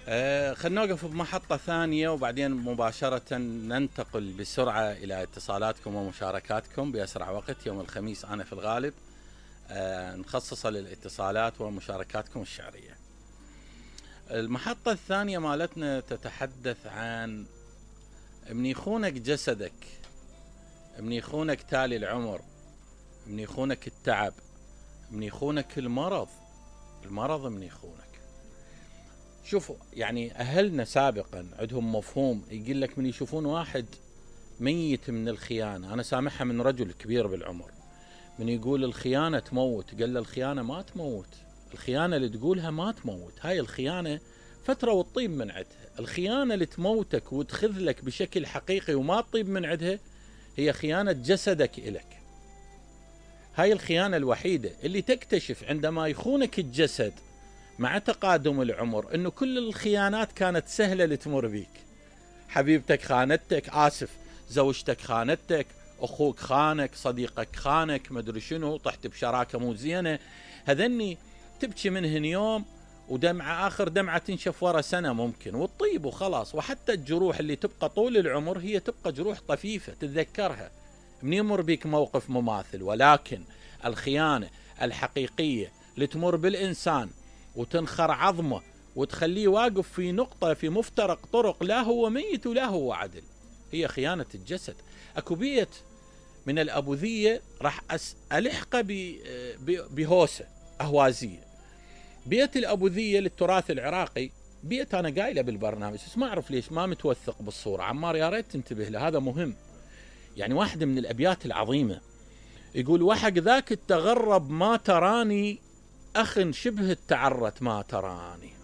خلنا نوقف بمحطة ثانية وبعدين مباشرة ننتقل بسرعة إلى اتصالاتكم ومشاركاتكم بأسرع وقت. يوم الخميس أنا في الغالب نخصصه للاتصالات ومشاركاتكم الشعرية. المحطة الثانية مالتنا تتحدث عن من يخونك جسدك، من يخونك تالي العمر، من يخونك التعب، من يخونك المرض من يخونك. شوفوا يعني أهلنا سابقا عندهم مفهوم يقول لك من يشوفون واحد ميت من الخيانة. أنا سامعها من رجل كبير بالعمر من يقول الخيانة تموت، قال له الخيانة ما تموت، الخيانة اللي تقولها ما تموت، هاي الخيانة فترة وتطيب من عدها. الخيانة اللي تموتك وتخذلك بشكل حقيقي وما تطيب من عدها هي خيانة جسدك إلك. هاي الخيانة الوحيدة اللي تكتشف عندما يخونك الجسد مع تقادم العمر انه كل الخيانات كانت سهلة لتمر بيك. حبيبتك خانتك، آسف، زوجتك خانتك، اخوك خانك، صديقك خانك، مدري شنو، طحت بشراكة مو زينة، هذني تبكي منهن يوم ودمعة آخر دمعة تنشف ورا سنة ممكن وتطيب وخلاص. وحتى الجروح اللي تبقى طول العمر هي تبقى جروح طفيفة تتذكرها من يمر بيك موقف مماثل. ولكن الخيانة الحقيقية اللي تمر بالإنسان وتنخر عظمه وتخليه واقف في نقطة في مفترق طرق، لا هو ميت ولا هو عدل، هي خيانة الجسد. أكو بيت من الأبوذية راح ألحقه بهوسة أهوازية. بيت الأبوذية للتراث العراقي بيت أنا قايله بالبرنامج بس ما أعرف ليش ما متوثق بالصورة. عمار يا ريت تنتبه له، هذا مهم. يعني واحدة من الأبيات العظيمة يقول وحق ذاك التغرب ما تراني، أخ شبه التعرت ما تراني.